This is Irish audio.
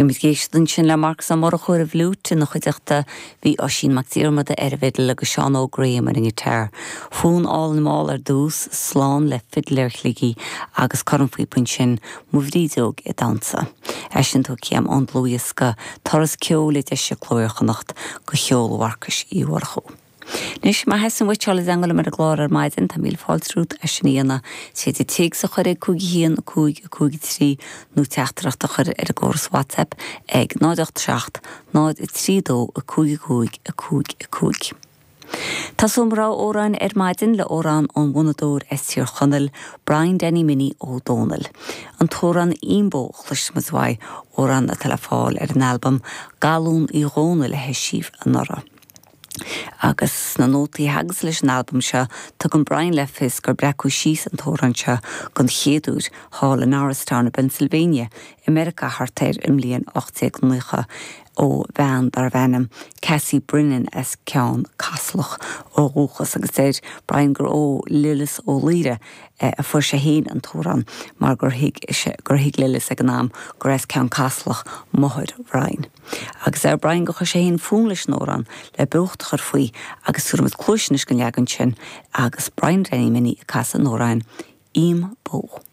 Bhí muid ag éisteacht ansin le Marcus Ó Murchú ar an bhfliúit, ina chuideachta bhí Oisín Mac Diarmada ar an bhfidil agus Seán Óg Graham ar an ngiotár. Fonn álainn mall ar dtús, slán le Fidléir Shligigh agus cornphíopa ansin, Mo Bhrídeog ag Damhsa. É sin tugtha agam ón dlúthdhiosca Turas Ceoil a d'eisigh Cló Iar-Chonnacht do cheol Mharcais Uí Mhurchú. Anois, má theastaíonn uait dul i dteangmháil liom ar an gclár ar maidin, tá míle fáilte romhat é sin a dhéanamh. Is féidir téacs a chur ag 5 1 5 5 3 nó teachtaireacht a chur ar an gcóras WhatsApp ag 0 8 7 0 3 2 5 5 5 5. Tosóidh mo rogha amhráin ar maidin le amhrán ón bhfonnadóir as Tír Chonaill, Brian Danny Minnie Ó Dónaill. An t-amhrán 'Imbó' a chloisfidh muid uaidh, amhrán atá le fáil ar an albam 'Galún Uí Dhónaill' a heisíodh anuraidh. Agus sna nótaí a thagas leis an albam seo, tugann Brian le fios gur breacadh síos an t-amhrán seo don chéad uair thall i Norristown i bPennsylvania i Meiriceá thart ar an mbliain 1890 ó bhean darbh ainm Cassie Brennan as Ceann Caslach ó dhúchas agus deir Brian gur ó Lillis Ó Laoire a fuair sé féin an t-amhrán mar gur thuig gur thuig Lillis ag an am gur as Ceann Caslach máthair Bhrian. Agus deir Brian gur chuir sé féin fonn leis an amhrán le beocht a chur faoi agus tabharfaidh muid cluais anois don leagan sin agus Brian Danny Minnie ag casadh an amhráin Im Bó.